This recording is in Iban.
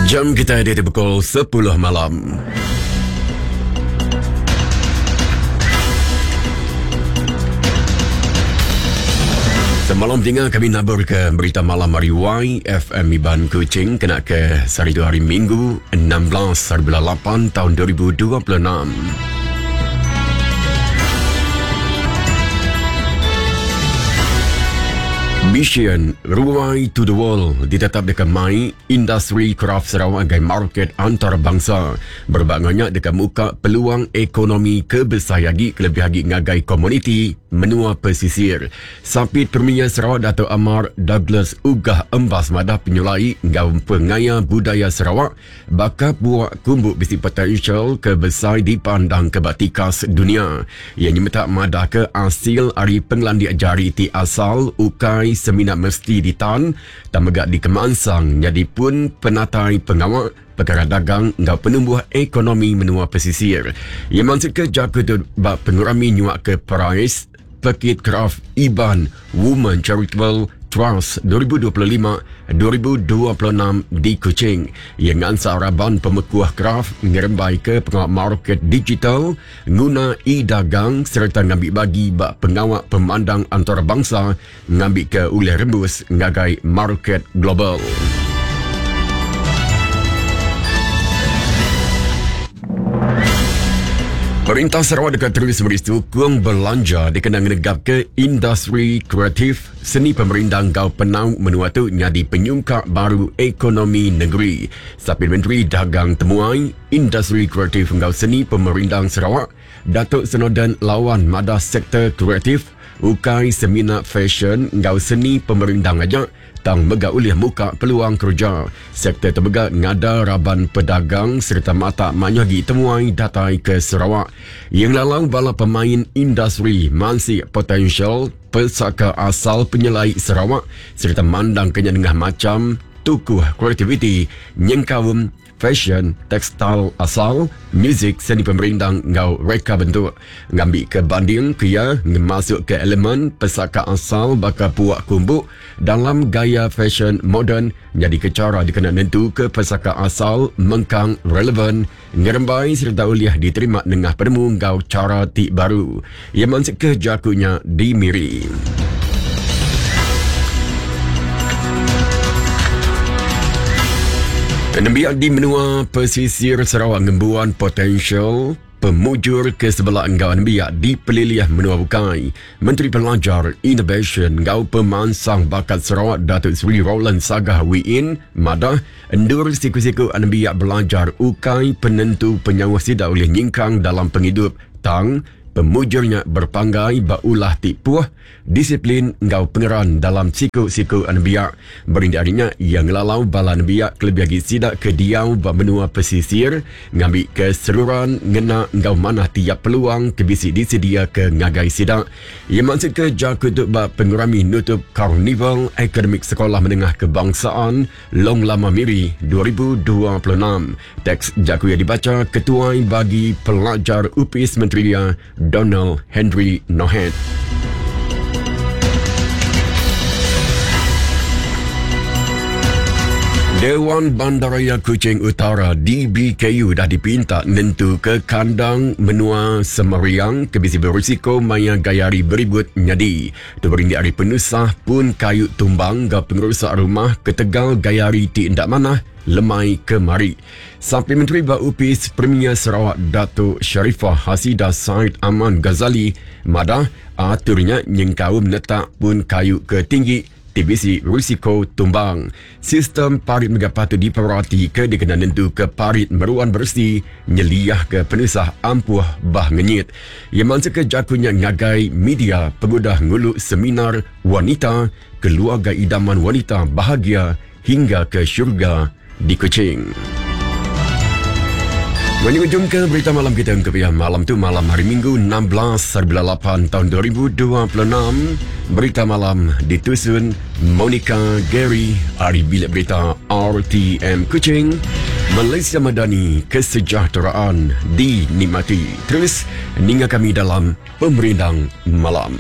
Jam kita di pukul 10 malam. Semalam tinggal kami nabur ke berita malam hari YFM Iban Kuching kena ke sehari tu hari Minggu 16 hari bulan 8 tahun 2026. Mission Ruai to the World ditetap deka mai industri kraf Sarawak ngagai market antarabangsa. Berebak enggau nya deka muka peluang ekonomi ke besai agi kelebih agi ngagai komuniti menua pesisir. Sapit Premier Sarawak Datuk Amar Douglas Uggah Embas madah penyelai enggau pengaya budaya Sarawak Baka puak kumbu bisi potensial ke besai dipandangka ba tikas dunya. Iya nyemetak madahka asil ari pengelandik jari ti asal ukai semina mesti ditan tang mega dikemansang nyadi pun penatai pengawa, pekara dagang enggau penumbuh ekonomi menua pesisir. Iya mansutka jaku tu ba pengerami nyuaka perais Pekit Kraf Iban Women Charitable Trust 2025-2026 di Kuching. Iya ngansak raban pemekuh kraf ngerembaika pengawa market digital, nguna e-dagang sereta ngambi bagi ba pengawa pemandang antarabangsa ngambika ulih rembus ngagai market global. Perintah Sarawak deka terus meri sukung belanja dikena ngenegapka industri kreatif, seni pemerindang enggau penau menua tu nyadi penyungkak baru ekonomi nengeri. Sapit Menteri Dagang Temuai, Industri Kreatif enggau Seni Pemerindang Sarawak, Datuk Snowdan Lawan madah sektor kreatif ukai semina fesyen enggau seni pemerindang aja tang mega ulih muka peluang kereja. Sektor tu mega ngada raban pedagang sereta matak mayuh agi temuai datai ke Sarawak. Iya ngelalau bala pemain industri mansik potensial pesaka asal penyelai Sarawak sereta mandangka nya nengah macham tukuh kreativiti nyengkaum Fashion, tekstil asal, muzik, seni pemerindang enggau reka bentuk. Ngambika banding ke iya ngemasukka elemen pesaka asal baka puak kumbu dalam gaya fashion moden nyadika chara dikena nentuka pesaka asal mengkang relevan, ngerembai sereta ulih diterima nengah penemu enggau chara ti baru. Iya mansutka jaku nya di Miri. Nembiak di menua pesisir Sarawak ngembuan potensial pemujur ke sebela enggau nembiak di pelilih menua bukai. Menteri Pelajar, Inovasyen enggau Pemansang Bakat Sarawak Datuk Seri Roland Sagah Wee Inn madah endur siku-siku nembiak belajar ukai penentu penyauh sida ulih nyingkang dalam pengidup tang Pemujur nya berpanggai ba ulah ti puh, disiplin enggau pengeran dalam siku-siku anembiak. Berindik ari nya, iya ngelalau bala anembiak kelebih agi sida ke diau ba menua pesisir ngambika seruran ngena enggau manah tiap peluang ke bisi disediaka ngagai sida. Iya mansutka jaku tu ba pengerami nutup Karnival Akademik Sekolah Menengah Kebangsaan Long Lama Miri 2026. Teks jaku iya dibacha Ketuai Bagi Pelajar Opis Menteri iya, Donald Henry Nohet. Dewan Bandaraya Kuching Utara DBKU dah dipinta nentuka kandang menua Semariang ke bisi berisiko maya gaya hari beribut nyadi. Tu berindik ari penusah pun kayu tumbang enggau pengerusak rumah ketegal gaya hari ti enda manah lemai kemari. Sapit Menteri ba Opis Premier Sarawak Datuk Sharifah Hasidah Said Aman Ghazali madah atur nya nyengkaum netak pun kayu ke tinggi ti bisi risiko tumbang. Sistem parit mega patut diperatika dikena nentuka parit meruan beresi nyeliahka penusah ampuh bah ngenyit. Iya mansutka jaku nya ngagai media pengudah ngulu Seminar Wanita Keluarga Idaman Wanita Bahagia Hingga ke Syurga di Kuching. Menyujungka berita malam kita untuk ya malam tu malam hari Minggu 16 hari 8 tahun 2026. Berita malam ditusun Monica Gary ari Bilik Berita RTM Kuching. Malaysia Madani kesejahteraan dinikmati. Terus ninga kami dalam Pemerindang Malam.